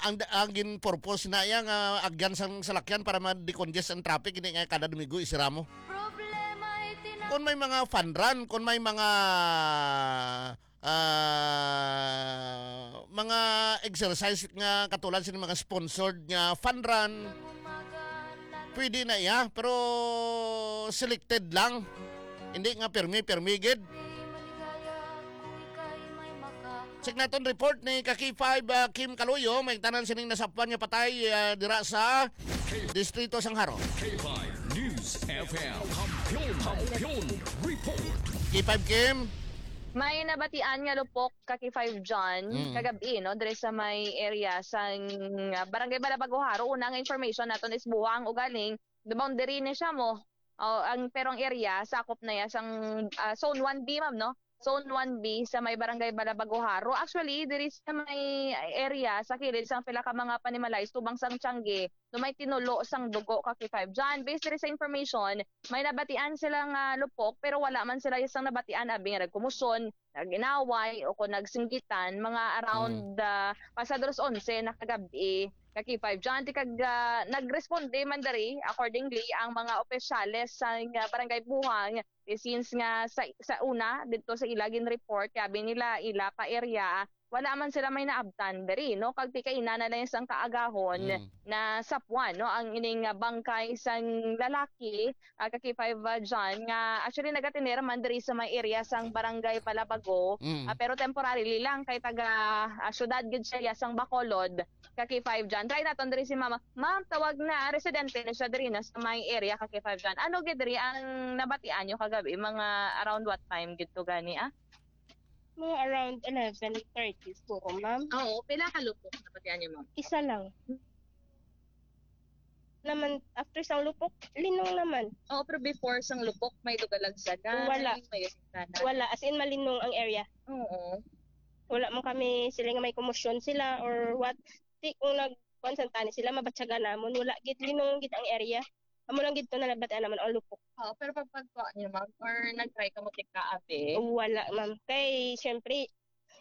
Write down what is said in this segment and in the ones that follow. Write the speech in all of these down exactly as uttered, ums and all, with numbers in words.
ang, ang gin-purpose na iya nga agyan sang salakyan para ma-decongest ang traffic, hindi nga kada Domingo isira mo. Problema iti na. Kung may mga fun run, kung may mga, ah, mga exercise nga katulad sa mga sponsored nga fun run, pwede na iya, pero selected lang. Hindi nga pirmi-pirmi gid. Check naton report ni ka K five, ah, Kim Kaluyo, may tanan sining nasapwan nga patay, ah, dira sa Distrito sang Jaro. K five News F M. Kampiyon, Kampiyon Report. K five Kim. May nabatian nga lupok ka K five John Mm. kagabi, no, diri sa may area sang, ah, Barangay Balabago, Jaro. Una nga information naton is Buhang, ugaling the boundary ni siya mo. Oh, ang, pero ang area sakop na ya sang, ah, Zone one B, ma'am, no? Zone one B sa may Barangay Balabago, Jaro. Actually, diri sa may area sa kilid sang pila ka mga panimalay subang sang Tiangge, no, may tinulo sang dugo ka K five John. Based diri sa information, may nabatian sila nga lupok, pero wala man sila sang nabatian abi nga nagkumusyon, nag-inaway, o kung nagsinggitan, mga around, Mm. ah, pasado alas onse na kagabi, ka K five John. Ti kag, ah, nagresponde man diri, accordingly, ang mga opisyales sa, ah, Barangay Buhang, eh, since nga sa, sa una, dito sa ila gin-report, kabi nila, ila pa area, wala man sila may naabtan diri, no? Kag ti kaina na lang sang kaagahon Mm. na sapwan, no, ang ining, ah, bangkay sang lalaki, ah, ka K five, ah, John, nga actually nagatinera man diri sa may area sang Barangay Balabago, Mm. ah, pero temporarily lang kay taga, ah, syudad gid siya sang Bacolod, ka K five John. Try naton diri si Mama. Ma'am, tawag na, residente na siya diri na sa may area ka K five John. Ano gid diri ang nabatian nyo kagabi? Mga around what time gid to gani, ah? Mga around eleven thirty siguro, ma'am. Oo, pila ka lupok nabatian nyo, ma'am? Isa lang. Naman, after sang lupok, linong naman. Oo, pero before sang lupok, may dugalag sa na, Wala. May, may na. Wala, as in, malinong ang area. Oo. Wala man kami sila nga may komosyon sila or what. Ti, kung nag-, kuwan sa tani sila, mabatyagan namon. Wala gid, linong gid ang area. Amo lang gid to na nabatian namon ang lupok. Oo, pero pag pagkuha niyo, ma'am, or nag-try ka mo tika, ate? Wala, ma'am. Kay, syempre,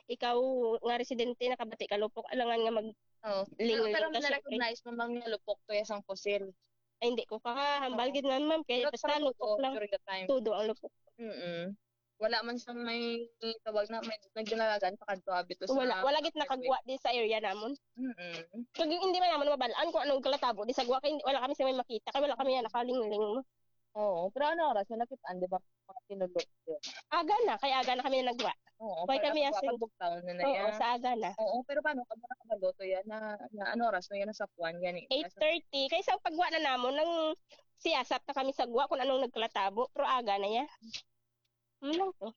ikaw nga residente, nakabati ka lupok, alangan nga mag-, Oo. Lingon Pero, pero ka, syempre. Na-recognize mo, ma'am, nga lupok to ya sang pusil? Ay, hindi ko kahambal Oo. Gid, ma'am, ma'am, kay Pero basta sa lupok photo lang. During the time. Tudo ang lupok. Mm-mm. Wala man siyang may tawag na, may nagdalagan pa kadto abi to sa Wala, wala gid highway. Nakagwa di sa area namon. Mm-mm. Kag hindi man namon mabalaan kung anong kalatabo di sa gwa, kay hindi, wala kami sa may makita, kay wala kami yan nakalingling mo. Oo, pero ano oras na nakit-an, di ba, mga tinulo? Aga na, kay aga na kami na nagwa. Oo, Kay pero kami ang asin- pagbugtaw na na Oo, yan. Sa aga na. Oo, pero paano ka ba nakabalo to yan na, na ano oras na yan sa puwan yan eh? Eight thirty. Kay sa pagwa na namon, nang siyasat na kami sa gwa kung anong nagkalatabo, pero aga na yan. Ano lang to?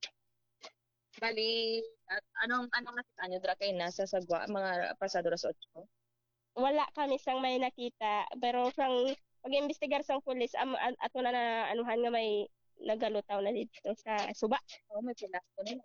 Bali, at anong, anong nakita nyo dira kay nasa sa gwa, mga pasado alas otso? Wala kami sang may nakita, pero sang pag-imbestigar sang pulis, am-, an-, ato na, na anuhan nga may nagalutaw na dito sa suba. Oo, may pilas ko nila.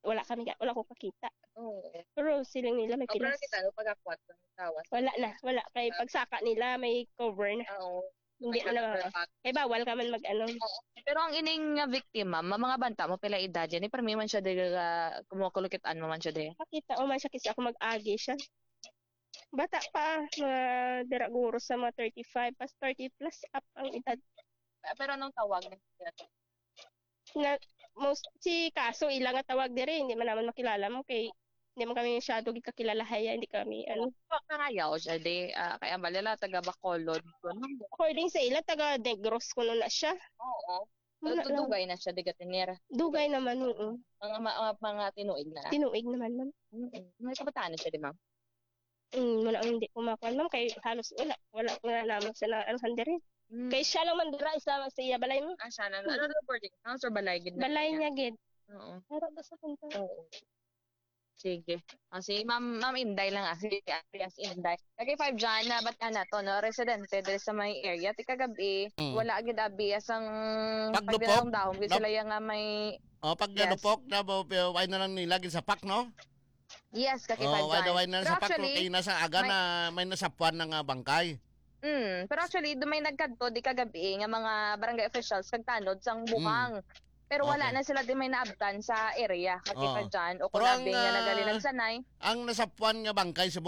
Wala kami ka-, wala ko kakita. Oo. Pero siling nila may Oh, pero pilas. Nakita, no, pag-akwat ng tawas. Wala na, wala. Kay Ah. pagsaka nila, may cover na. Oo. Hindi May na, cover pa. Kay bawal ka man mag-ano. Oo. Pero ang ining nga victim, ma'am, ma-, mga banta mo, pila edad yan? Eh, permi man siya, di ka, kumukulukit-an mo man siya, di? Pakita, o man siya, kasi ako mag-agi siya. Bata pa, mga dira guro sa mga thirty-five, pas thirty plus up ang edad. Ah, pero anong tawag na siya? Na, most, si Kaso, ila nga tawag diri, hindi man naman makilala mo kay hindi man kami masyado gid kakilala, haya, hindi kami, ano. Pa-, pangayaw siya, di, ah, kay ang balila, taga Bacolod, kuno. According sa ila, taga Negros, kuno na siya. Oo. Wala So, lang. Dugay na siya, di gatinera. Dugay naman, oo. Mga, ma-, mga, mga tinuig na. Tinuig naman, ma'am. Mm-mm. May kabataan na siya, di, ma'am? Mm, wala, hindi ko makuha, ma'am, kay halos wala, wala, wala naman siya na, ano, handiri. Mm. Kay siya lang man dira, isa lang sa iya balay mo. Ah, siya lang. Mm. Ano, ano, boarding house or balay gid na Balay niya? Niya gid. Oo. Wala ba sa punta? Oo. Sige. Ah, si Ma'am, Ma'am Inday lang, ah. Si Alias Inday. Kay five dyan, na ba't ka na to, no? Residente diri sa may area. Ti kagabi, Mm. wala gid abi, asang Paglupok, pagdahom-dahom gid nap-, sila yang nga may, oh, Yes. paglupok na, ba, ba, why na lang nila gid sa pak, no? Yes, ka Oh, five why na, dyan. Why na Pero sa pak, actually, kay nasa aga may na, may nasapuan na nga bangkay. Mm, pero actually, do may nagkadto di kagabi nga mga barangay officials kag tanod sang Mm. Buhang. Pero wala Okay. na sila di may naabtan sa area, kakita Oo. dyan, o Pero kung ang, abi nga ah, nagalinagsanay. ang nasapuan nga bangkay sa